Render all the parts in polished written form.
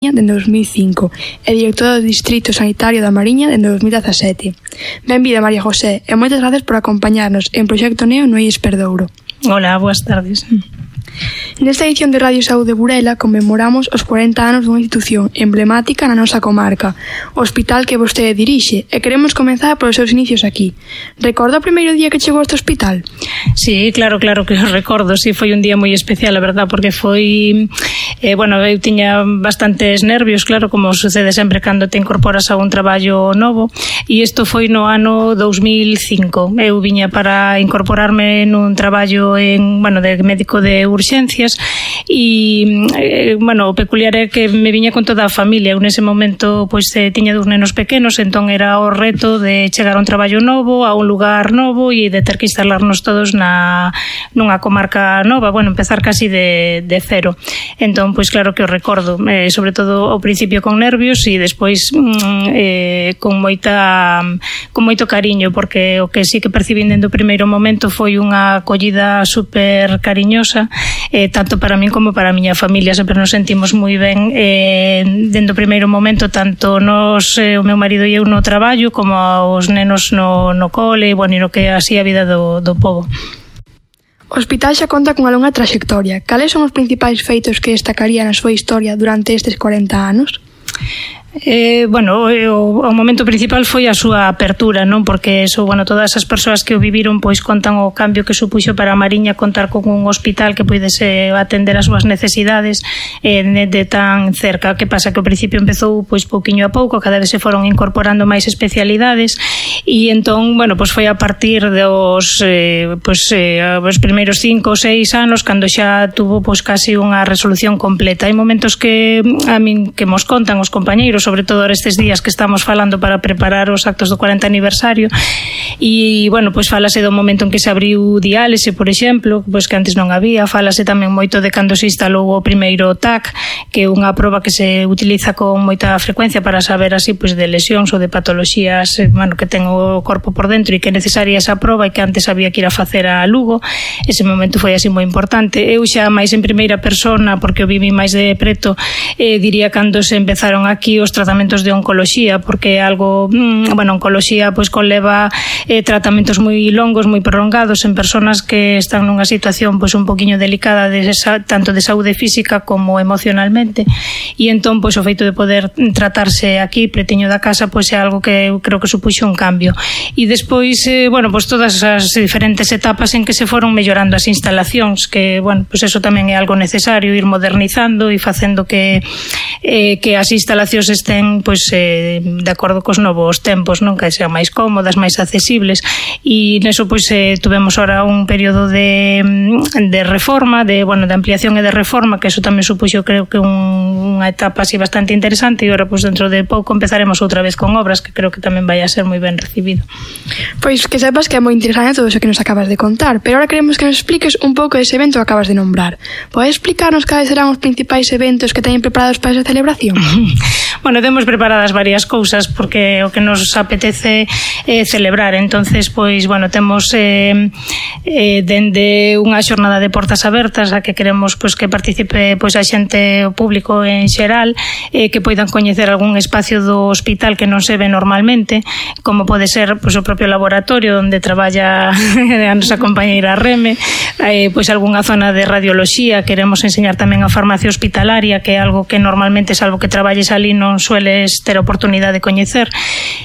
dende 2005 e directora do Distrito Sanitario da Mariña dende 2017. Benvida, María José, e moitas gracias por acompañarnos en Proxecto Neo no IES Perdouro. Hola, boas tardes. Nesta edición de Radio Saúde Burela conmemoramos os 40 anos dunha institución emblemática na nosa comarca, o hospital que vostede dirixe, e queremos comenzar polos seus inicios aquí. Recorda o primeiro día que chegou a este hospital? Sí, claro que o recordo, sí, foi un día moi especial, a verdad, porque foi, eu tiña bastantes nervios, claro, como sucede sempre cando te incorporas a un traballo novo, e isto foi no ano 2005. Eu viña para incorporarme nun traballo de médico de urxencias e, o peculiar é que me viña con toda a familia. Eu nese momento tiña dous nenos pequenos, entón era o reto de chegar a un traballo novo, a un lugar novo e de ter que instalarnos todos nunha comarca nova, empezar casi de cero. Entón, claro que o recordo, sobre todo ao principio con nervios e despois con moito cariño, porque o que sí que percibín dende o primeiro momento foi unha acollida super cariñosa, tanto para min como para a miña familia. Sempre nos sentimos moi ben dende o primeiro momento, tanto nos, o meu marido e eu no traballo, como os nenos no cole, e no que así a vida do pobo. O hospital xa conta cunha longa traxectoria. Cales son os principais feitos que destacaría na súa historia durante estes 40 anos? O momento principal foi a súa apertura, non? Porque todas as persoas que o viviron contan o cambio que supuxo para a Mariña contar con un hospital que puidese atender as súas necesidades de tan cerca. Que pasa? Que ao principio empezou pouquiño a pouco, cada vez se foron incorporando máis especialidades e entón, foi a partir dos os primeiros 5 ou 6 anos cando xa tuvo casi unha resolución completa. Hai momentos que a min que mos contan os compañeiros, sobre todo estes días que estamos falando para preparar os actos do 40 aniversario e, falase do momento en que se abriu diálise, por exemplo, que antes non había. Falase tamén moito de cando se instalou o primeiro TAC, que é unha proba que se utiliza con moita frecuencia para saber así de lesións ou de patoloxías que ten o corpo por dentro e que é necesaria esa proba e que antes había que ir a facer a Lugo. Ese momento foi así moi importante. Eu xa máis en primeira persona, porque o vivi máis de preto, diría cando se empezaron aquí os tratamentos de oncoloxía, porque é algo, oncoloxía conleva tratamentos moi longos, moi prolongados en persoas que están nunha situación un poquinho delicada tanto de saúde física como emocionalmente, e entón o feito de poder tratarse aquí pretiño da casa é algo que eu creo que supuxo un cambio. E despois, todas as diferentes etapas en que se foron mellorando as instalacións, que, eso tamén é algo necesario, ir modernizando e facendo que as instalacións estén de acordo cos novos tempos, non? Que sean máis cómodas, máis accesibles, e neso tuvemos ahora un período de reforma, de ampliación e de reforma, que eso tamén supuxo, creo que unha etapa así bastante interesante, e ahora dentro de pouco empezaremos outra vez con obras, que creo que tamén vai a ser moi ben recibido. Pois que sepas que é moi interesante todo iso que nos acabas de contar, pero ahora queremos que nos expliques un pouco dese evento que acabas de nombrar. Podes explicarnos cales serán os principais eventos que teñen preparados para esa celebración? Temos preparadas varias cousas, porque o que nos apetece celebrar. Entonces, temos dende unha xornada de portas abertas a que queremos que participe a xente, o público en xeral, que poidan coñecer algún espacio do hospital que non se ve normalmente, como pode ser o propio laboratorio onde traballa a nosa compañeira Reme, algunha zona de radioloxía. Queremos enseñar tamén a farmacia hospitalaria, que é algo que normalmente, salvo que traballes ali, non sueles ter oportunidade de coñecer.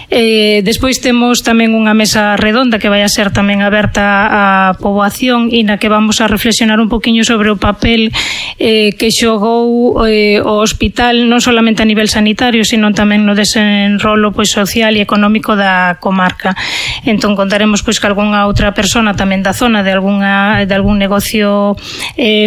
Despois temos tamén unha mesa redonda que vai a ser tamén aberta á poboación e na que vamos a reflexionar un poquinho sobre o papel que xogou o hospital, non solamente a nivel sanitario, sino tamén no desenrolo social e económico da comarca. Entón contaremos que algunha outra persona tamén da zona, de algún negocio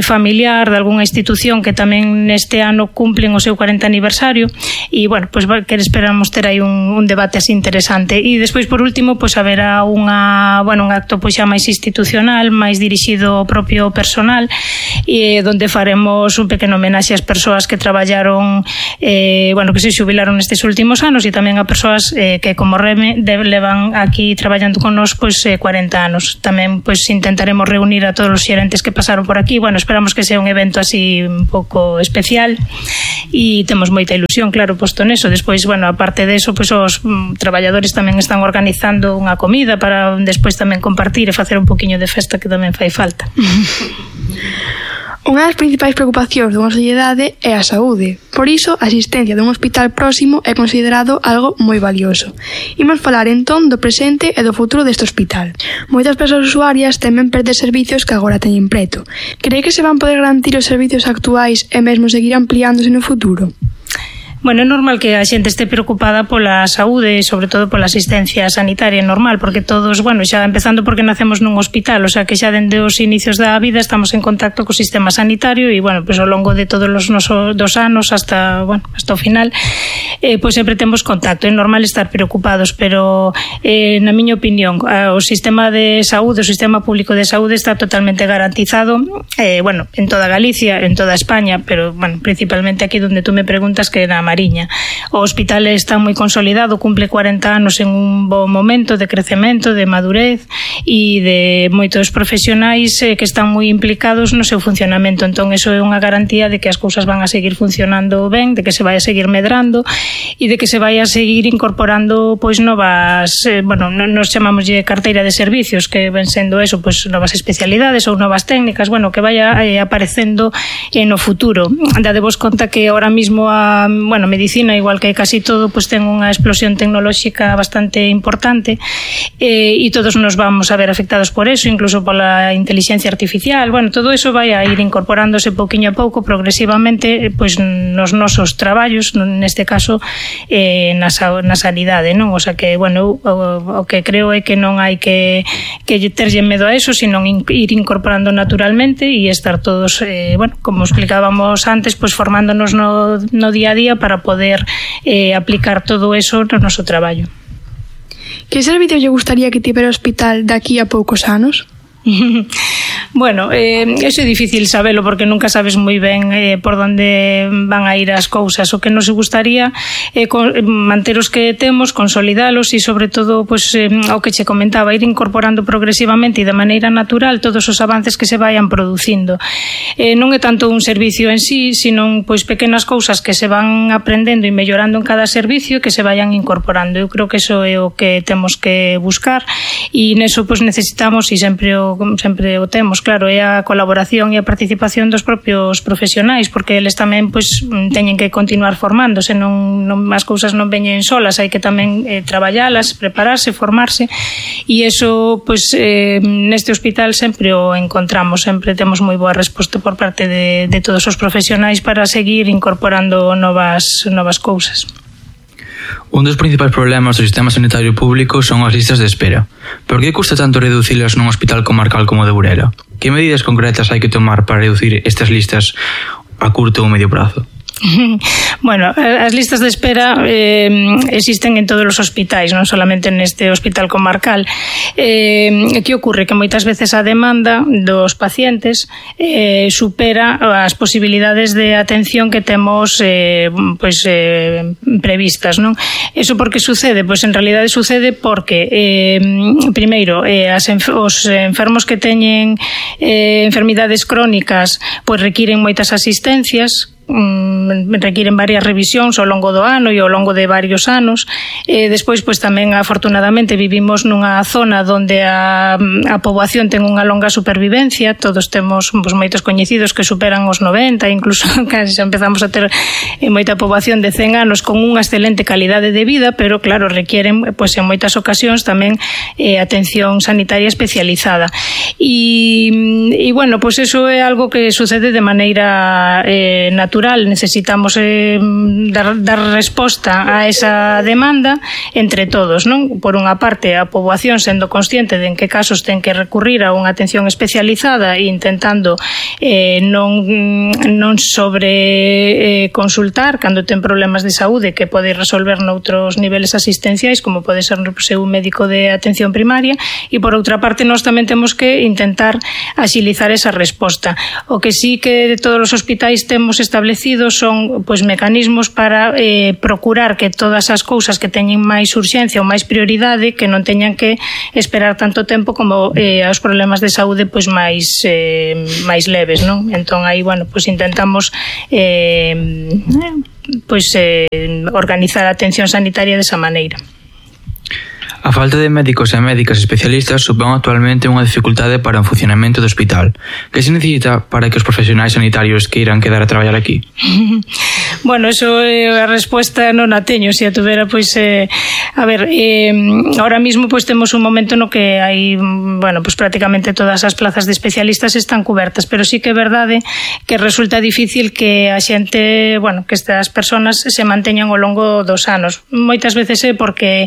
familiar, de algunha institución que tamén neste ano cumplen o seu 40 aniversario, e, bueno, pues que esperamos ter aí un debate así interesante. E despois, por último, pues haberá un acto pois xa máis institucional, máis dirixido ao propio personal, e donde faremos un pequeno homenaxe ás persoas que traballaron, que se xubilaron nestes últimos anos, e tamén a persoas que como Reme levan aquí traballando con nos 40 anos. Tamén intentaremos reunir a todos os xerentes que pasaron por aquí. Bueno, esperamos que sea un evento así un pouco especial e temos moita ilusión, claro, posto neso. Despois, bueno, aparte de eso, os traballadores tamén están organizando unha comida para despois tamén compartir e facer un poquinho de festa, que tamén fai falta. Unha das principais preocupacións dunha sociedade é a saúde. Por iso, a asistencia dun hospital próximo é considerado algo moi valioso. Imos falar entón do presente e do futuro deste hospital. Moitas persoas usuarias temen perder servicios que agora teñen preto. Cree que se van poder garantir os servicios actuais e mesmo seguir ampliándose no futuro? Bueno, é normal que a xente este preocupada pola saúde e sobre todo pola asistencia sanitaria, normal, porque todos, bueno, xa empezando porque nacemos nun hospital, o sea que xa dende os inicios da vida estamos en contacto co sistema sanitario e, bueno, ao longo de todos os nosos 2 anos hasta o final, sempre temos contacto. É normal estar preocupados, pero na miña opinión, o sistema de saúde, o sistema público de saúde está totalmente garantizado, en toda Galicia, en toda España, pero, bueno, principalmente aquí donde tú me preguntas, que na Mariña. O hospital está moi consolidado, cumple 40 anos en un bo momento de crecemento, de madurez e de moitos profesionais que están moi implicados no seu funcionamento. Entón, eso é unha garantía de que as cousas van a seguir funcionando ben, de que se vai a seguir medrando e de que se vai a seguir incorporando novas, nos chamamos de carteira de servicios, que ven sendo eso, novas especialidades ou novas técnicas, que vaya aparecendo no futuro. Dadevos conta que ahora mismo a medicina, igual que casi todo, ten unha explosión tecnolóxica bastante importante e todos nos vamos a ver afectados por eso, incluso pola inteligencia artificial. Todo eso vai a ir incorporándose pouquiño a pouco, progresivamente, nos nosos traballos, neste caso na sanidade, non? O sea que, o que creo é que non hai que terlle medo a eso, sino ir incorporando naturalmente e estar todos, como explicábamos antes, formándonos no día a día para poder aplicar todo eso no noso traballo. Que servicios lle gustaría que tivera o hospital daqui a poucos anos? Bueno, eso é difícil sabelo porque nunca sabes moi ben por onde van a ir as cousas. O que nos gustaría é manter os que temos, consolidalos e, sobre todo, o que che comentaba, ir incorporando progresivamente e de maneira natural todos os avances que se vayan producindo. Non é tanto un servicio en sí, sino pequenas cousas que se van aprendendo e mellorando en cada servicio que se vayan incorporando. Eu creo que eso é o que temos que buscar e neso necesitamos, e sempre o temos, claro, é a colaboración e a participación dos propios profesionais, porque eles tamén teñen que continuar formándose, as cousas non veñen solas, hai que tamén traballalas, prepararse, formarse, e iso neste hospital sempre o encontramos, sempre temos moi boa resposta por parte de todos os profesionais para seguir incorporando novas cousas. Un dos principais problemas do sistema sanitario público son as listas de espera. Por que custa tanto reducilas nun hospital comarcal como o de Burela? Que medidas concretas hai que tomar para reducir estas listas a curto ou medio prazo? Bueno, as listas de espera existen en todos os hospitais, non solamente neste hospital comarcal. Que ocorre? Que moitas veces a demanda dos pacientes supera as posibilidades de atención que temos previstas, non? Eso por que sucede? En realidade sucede porque primeiro, os enfermos que teñen enfermidades crónicas requiren moitas asistencias, requiren varias revisións ao longo do ano e ao longo de varios anos. Despois, tamén, afortunadamente, vivimos nunha zona onde a poboación ten unha longa supervivencia. Todos temos moitos coñecidos que superan os 90, incluso casi empezamos a ter moita poboación de 100 anos con unha excelente calidade de vida, pero, claro, requieren, en moitas ocasións, tamén atención sanitaria especializada. E bueno, eso é algo que sucede de maneira natural natural, necesitamos dar resposta a esa demanda entre todos, non? Por unha parte, a poboación sendo consciente de en que casos ten que recurrir a unha atención especializada e intentando non sobre consultar cando ten problemas de saúde que pode resolver noutros niveles asistenciais, como pode ser un médico de atención primaria, e por outra parte nós tamén temos que intentar axilizar esa resposta. O que sí que todos os hospitais temos establecidos son mecanismos para procurar que todas as cousas que teñen máis urxencia ou máis prioridade que non teñan que esperar tanto tempo como os problemas de saúde máis leves, non? Entón aí, intentamos organizar a atención sanitaria desa maneira. A falta de médicos e médicas especialistas supón actualmente unha dificultade para o funcionamento do hospital. Que se necesita para que os profesionais sanitarios queiran quedar a traballar aquí? Bueno, eso a resposta non a teño. Se a tuvera, ahora mismo temos un momento no que hai, prácticamente todas as plazas de especialistas están cubertas, pero sí que é verdade que resulta difícil que a xente, que estas persoas se manteñan ao longo dos anos. Moitas veces é porque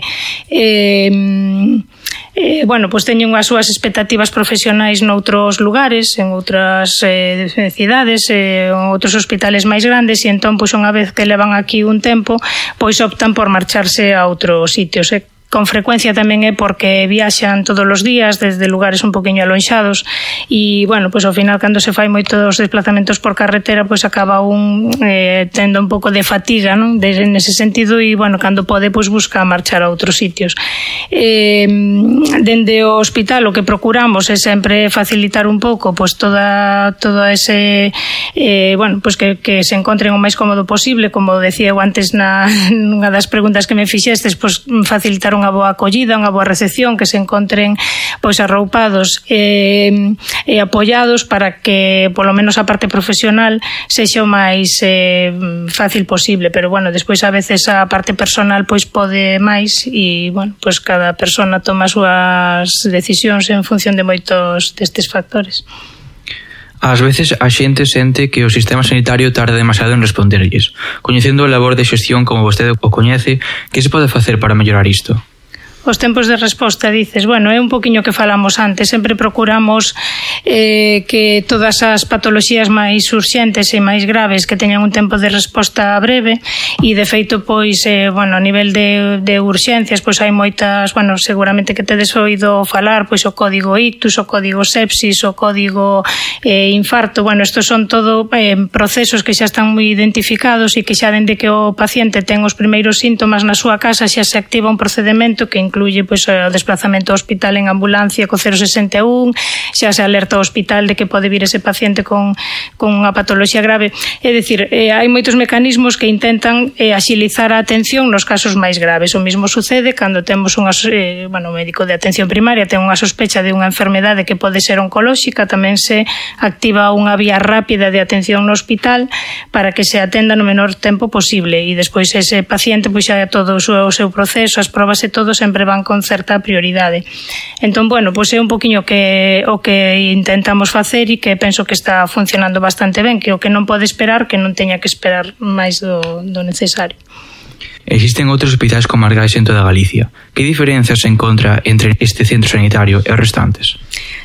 teñen as súas expectativas profesionais noutros lugares, en outras cidades, en outros hospitales máis grandes, e entón, unha vez que levan aquí un tempo, optan por marcharse a outros sitios. Con frecuencia tamén é porque viaxan todos os días desde lugares un poquinho alonxados e, ao final, cando se fai moitos desplazamentos por carretera, acaba tendo un pouco de fatiga, non? Nese sentido, e, cando pode, busca marchar a outros sitios. Dende o hospital o que procuramos é sempre facilitar un pouco todo ese que se encontren o máis cómodo posible, como decía eu antes nunha das preguntas que me fixestes, facilitar unha boa acollida, unha boa recepción, que se encontren arroupados e apoiados para que polo menos a parte profesional sexa o máis fácil posible, pero despois a veces a parte personal pode máis e cada persona toma as súas decisións en función de moitos destes factores. Ás veces a xente sente que o sistema sanitario tarda demasiado en responderlles. Coñecendo a labor de xestión como vostede o coñece, que se pode facer para mellorar isto? Os tempos de resposta, dices, é un poquinho que falamos antes, sempre procuramos que todas as patoloxías máis urxentes e máis graves que teñan un tempo de resposta breve e de feito, a nivel de urxencias, hai moitas, seguramente que tedes oído falar, o código ictus, o código sepsis, o código infarto, estos son todo procesos que xa están moi identificados e que xa dende que o paciente ten os primeiros síntomas na súa casa xa se activa un procedemento que incluye o desplazamento ao hospital en ambulancia co 061, xa se alerta ao hospital de que pode vir ese paciente con unha patoloxía grave. É dicir, hai moitos mecanismos que intentan axilizar a atención nos casos máis graves. O mesmo sucede cando temos un médico de atención primaria ten unha sospecha de unha enfermedade que pode ser oncolóxica, tamén se activa unha vía rápida de atención no hospital para que se atenda no menor tempo posible e despois ese paciente xa todo o seu proceso, as probas e todo sempre van con certa prioridade. Entón, é un poquinho o que intentamos facer e que penso que está funcionando bastante ben, que o que non pode esperar, que non teña que esperar máis do necesario. Existen outros hospitais comarcais en toda Galicia. Que diferenzas se encontra entre este centro sanitario e os restantes?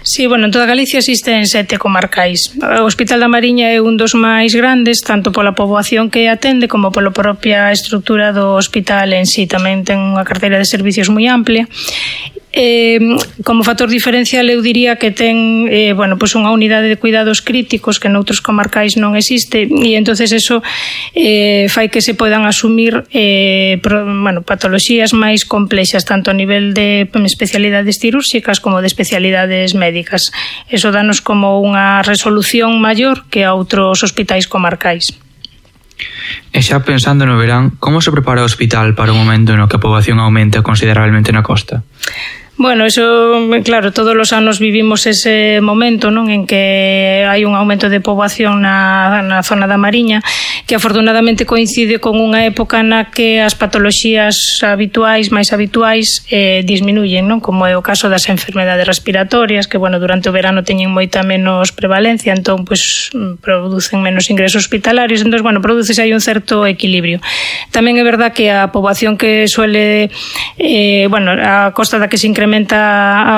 Sí, en toda Galicia existen 7 comarcais. O Hospital da Mariña é un dos máis grandes, tanto pola poboación que atende como pola propia estrutura do hospital en sí. Tamén ten unha carteira de servicios moi amplia. Como factor diferencial eu diría que ten unha unidade de cuidados críticos que noutros comarcais non existe e entonces eso fai que se podan asumir patoloxías máis complexas tanto a nivel de especialidades cirúrxicas como de especialidades médicas. Eso danos como unha resolución maior que a outros hospitais comarcais. E xa pensando no verán, como se prepara o hospital para o momento no que a poboación aumenta considerablemente na costa? Bueno, eso, claro, todos os anos vivimos ese momento, non, en que hai un aumento de poboación na zona da Mariña, que afortunadamente coincide con unha época na que as patoloxías máis habituais disminuyen, non, como é o caso das enfermedades respiratorias, que, bueno, durante o verano teñen moita menos prevalencia, entón, pues, producen menos ingresos hospitalarios, entón, bueno, produces aí un certo equilibrio. Tamén é verdad que a poboación que suele, bueno, a costa da que se incrementa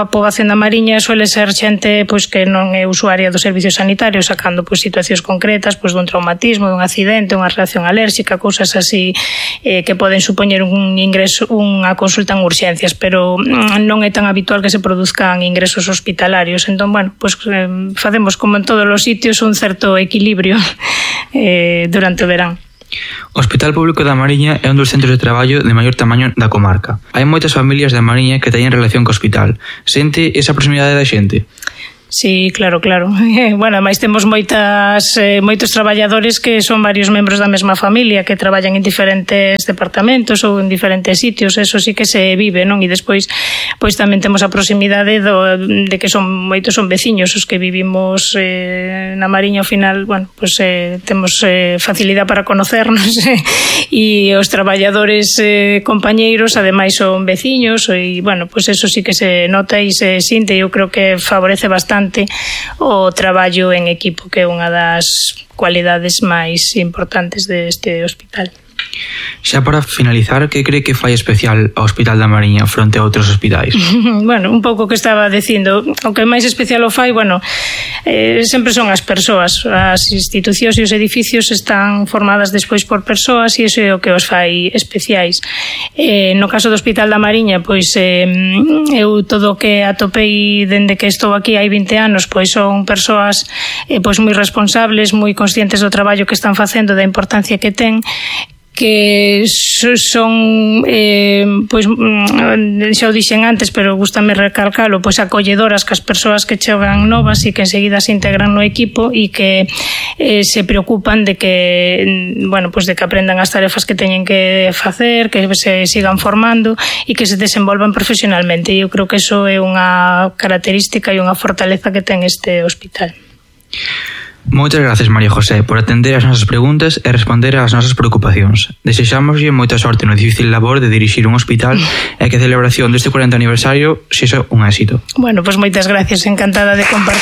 a poboación da Mariña suele ser xente pois que non é usuaria dos servicios sanitarios, sacando pois situacións concretas, pois dun traumatismo, dun accidente, unha reacción alérxica, cousas así que poden supoñer un ingreso, unha consulta en urxencias, pero non é tan habitual que se produzcan ingresos hospitalarios. Entón, bueno, pois facemos como en todos os sitios un certo equilibrio durante o verán. O Hospital Público da Mariña é un dos centros de traballo de maior tamaño da comarca. Hai moitas familias da Mariña que teñen relación co hospital. Sente esa proximidade da xente? Sí, claro. Bueno, ademais temos moitos traballadores que son varios membros da mesma familia que traballan en diferentes departamentos ou en diferentes sitios, eso sí que se vive, non? E despois pois tamén temos a proximidade de que moitos son veciños os que vivimos na Mariña. Ao final, bueno, pois temos facilidade para conocernos e os traballadores compañeiros ademais son veciños e, bueno, pois eso sí que se nota e se sinte, e eu creo que favorece bastante o traballo en equipo, que é unha das cualidades máis importantes deste hospital. Xa para finalizar, que cree que fai especial ao Hospital da Mariña fronte a outros hospitais? Bueno, un pouco que estaba dicindo, o que máis especial o fai, bueno, sempre son as persoas. As institucións e os edificios están formadas despois por persoas e iso é o que os fai especiais. No caso do Hospital da Mariña, pois eu todo o que atopei dende que estou aquí hai 20 anos, pois son persoas pois moi responsables, moi conscientes do traballo que están facendo, da importancia que ten, que son pois xa o dixen antes, pero gústame recalcalo, pois acolledoras que as persoas que chegan novas e que enseguida se integran no equipo e que se preocupan de que, bueno, pois de que aprendan as tarefas que teñen que facer, que se sigan formando e que se desenvolvan profesionalmente. E eu creo que eso é unha característica e unha fortaleza que ten este hospital. Moitas gracias, María José, por atender as nosas preguntas e responder ás nosas preocupacións. Desexámoslle moita sorte no difícil labor de dirixir un hospital e que a celebración deste 40 aniversario sexa un éxito. Bueno, pois moitas gracias, encantada de compartir